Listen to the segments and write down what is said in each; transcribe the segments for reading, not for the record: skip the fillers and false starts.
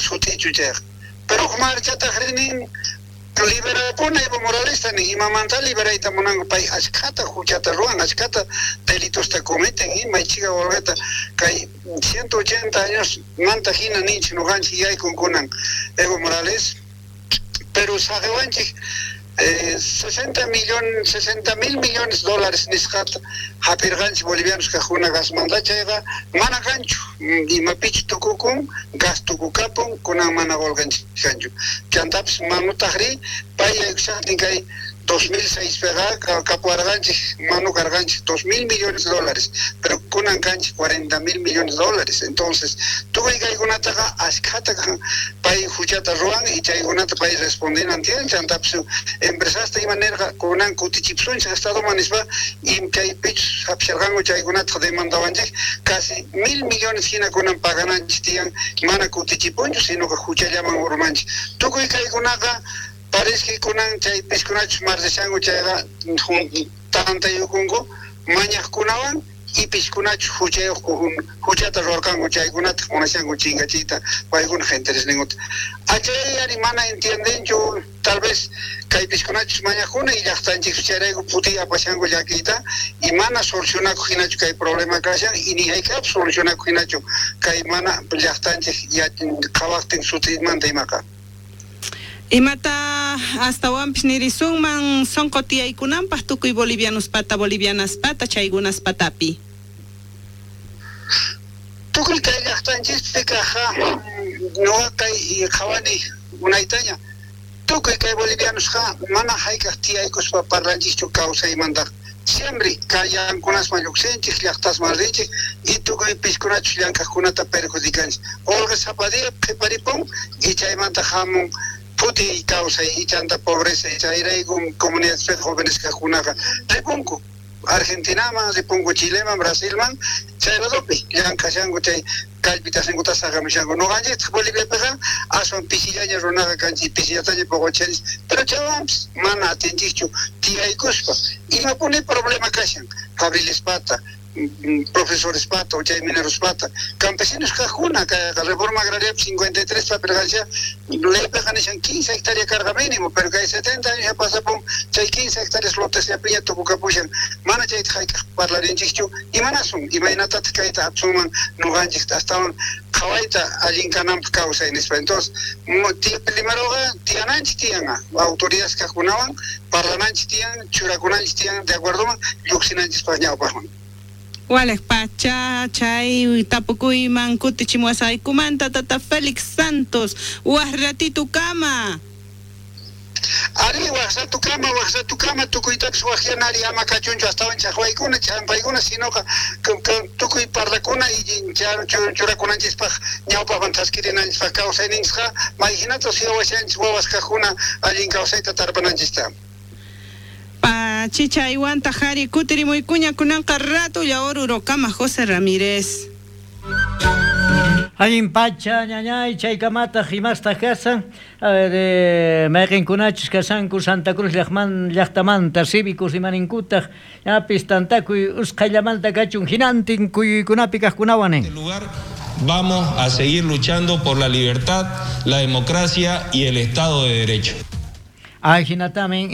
sut'ichu chayqa. Pero uj marchatajrí nin liberapuna Evo Moralesta nin, imamanta liberayta munanku pay ashkhata huchata ruwan, ashkhata delitosta cometen, may chhika qolqeta kay 180 años manta hina ninchik noqanchik yaykun kunan Evo Morales, pero saqewanchik 60 mil millones dólares nisqata hap'irqanchik bolivianos kaqkuna gasmanta, chayqa mana kanchu, imapichu tukukun, gas tukukapun, kunan mana qolqanchik kanchu. Chantapis manutajrí pay yaykushaqtin kay 2006 piqa kapuwarqanchik manu karqanchik 2 mil millones de dólares, pero kunan kanchik 40 mil millones de dólares. Entonces tukuy kaykunataqa ashkhata pay huchata ruwan y chaykunata pay respondinan tiyan. Chantapis empresasta ima nirqa kunan kutichipsunchik estadoman nispa, y chaypichus hap'isharqanku chaykunata demandawanchik casi 1000 millones hina kunan pagananchik tiyan, mana kutichipunchu, sino que huchallaman urmanchik. Tukuy kaykunaqa parece que kunan chay piskunachus marchashanku chayqa tantayukunku mañaqkunawan y piskunachus huchayuq huchata ruwarqanku chaykunata munashanku chinkachiyta paykunaq interesninkuta. Achay ari mana entiendenchu tal vez kay piskunachus mañaqkuna y llaqtanchik chayrayku putiy apashanku llakiyta y mana solucionakuq hinachu kay problema kashan y ni hayk'apis solucionakuq hinachu kay mana llaqtanchik qhawaqtin sutimanta imaqa. Imata astawanpis nirisunman sonqo tiyaykunanpaq tukuy bolivianospata bolivianaspata chaykunaspatapi? Tukuy kay llaqtanchispi kaqqa nuqa kay qhawani unaytaña tukuy kay bolivianosqa mana hayk'aq tiyaykuspa parlanchikchu kawsaymantaqa. Siempre kayankunasman lluqsinchik, llaqtasman rinchik y tukuy piskunachus llank'aqkunata perjudicanchik. Qolqe sapa día qhiparipun y chaymanta hamun phutiy kawsay y chanta pobreza, y chayrayku comunidadespi jóvenes kaqkunaqa ripunku Argentinaman, ripunku Chileman, Brasilman, chay ladopi llank'ashanku chay kallpitasninkuta saqamushanku. Noqanchiktaq Boliviapiqa aswan pisillaña runaqa kanchik, pisillataña poqochanchik, pero chaywanpis mana atinchikchu tiyaykuspa. Imapuni problema kashan fabrilispata, profesorespata o chay minerospata, campesinos kaqkuna kayqa reforma agraria 53 papirqancha leypiqa nishan 15 hectárea karqa mínimo, pero kay 70 años ya pasapun chay 15 hectáreas lotesllapiña tukukapushan, mana chayta hayk'aq parlarinchikchu. Imanasun, imaynatataq kayta hapsunman noqanchik astawan qhawayta allin kananpaq kawsay nispa. Entonces primeroqa tiyananchik tiyan autoridades kaqkunawan parlananchik tiyan, churakunanchik tiyan de acuerdoman lluqsinanchispaq ñawpaqman. Walej pacha chay tapukuyman kutichimuwasqaykumanta tata Félix Santos, waj ratito kama. Ari waj ratukama tukuytapis wajyanari ama kachunchu astawan chaqwaykuna ch'ampaykuna, sinoqa tukuy parlakuna y churakunanchispaq ñawpaqman thaskirinanchispaq kawsayninchikqa may hinata suyawashanchik wawas kaqkuna allin kawsayta tarpananchista. Pachicha iwanta jari kutirimuykuña kunanqa ratulla Orurokama José Ramírez. Allin pacha ñañay chaykamataq imastaq kasan, a ver, mayqinkunachus kasanku Santa Cruz llaqtamanta cívicos imaninkutaq ñapis tantakuy usqhayllamanta kachun hinantin kuyuykunapi kaqkunawan nin. Lugar vamos a seguir luchando por la libertad, la democracia y el Estado de Derecho. Ay, hinatamin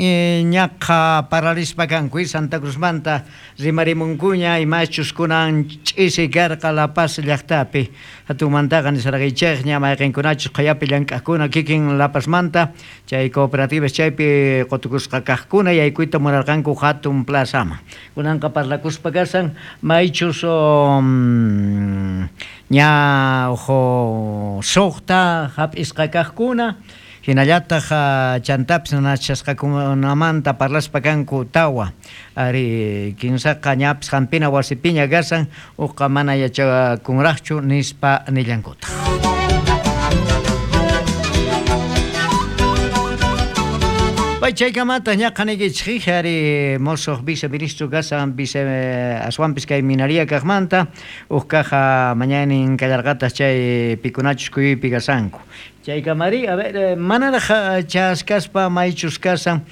ñaqa paralispa kanku Santa Cruzmanta rimarimunkuña imachus kunan ch'isi karqa La Paz llaqtapi. Hatunmantaqa nisarqaychikña mayqinkunachus qhayapi llank'aqkuna kikin La Pazmanta chay cooperativas chaypi qutukusqa kaqkuna yaykuyta munarqanku hatun plazaman. Kunanqa parlakuspa kasan maychus ña ojo suqta hap'isqa kaqkuna. Hinallataq chantapis nanachasqakunamanta parlaspa kanku tawa ari kinsaqa ñapis hampina wasipiña kasan uqa mana yachakunraqchu nispa nillankutaq. Pay chaykamata ñaqa niykichik ari mosoq viceministro kasan vice aswanpis kay minaria kaqmanta uq kaja mañanin kallarqataq chay pikunachus kuyuypi kasanku. Chaykamari, a ver, manaraq chaskaspa maychus kasan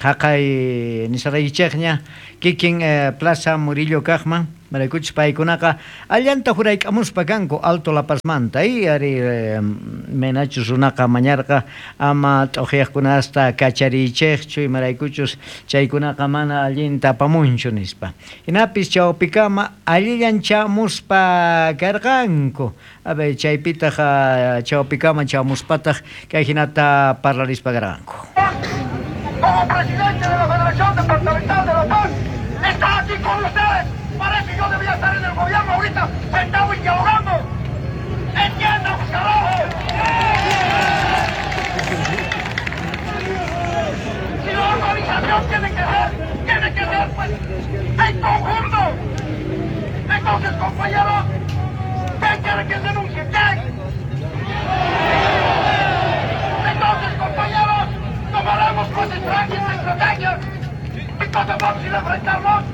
haqay nisaraykichikña kikin Plaza Murillo kaqman Imaraykuchus paykunaqa allanta jurayk'amuspa kanku Alto La Pazmanta, ari menachus runaqa mañarqa ama t'uqyaqkunasta kachariychejchu, imaraykuchus chaykunaqa mana allinta apamunchu nispa. Jinapis chawpikama allillan chamuspa karqanku. A ver, chaypitaj chawpikama chamuspataj kay jinata parlarispa karqanku. Como presidente de la Federación Departamental de La Paz, está aquí con ustedes. Parece que yo debía estar en el gobierno ahorita, sentado y dialogando. ¡Entiendan, carajo! Si la organización tiene que ser, pues, en conjunto. Entonces, compañeros, ¿qué quiere que denuncie? ¿Qué? Entonces, compañeros, tomaremos pues estrategias y cosas vamos a ir a enfrentarnos.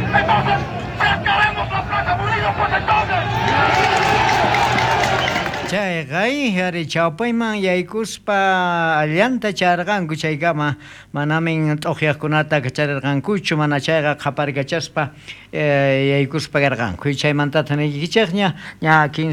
Entonces, sacaremos la Plaza Murillo, pues entonces. Chayqa ari chawpayman yaykuspa allanta charqanku chaykama manamin t'uqyaqkunata kacharirqankuchu mana chayqa qhaparkachaspa yaykuspa karqanku. Chaymantataq niykichikña ña 15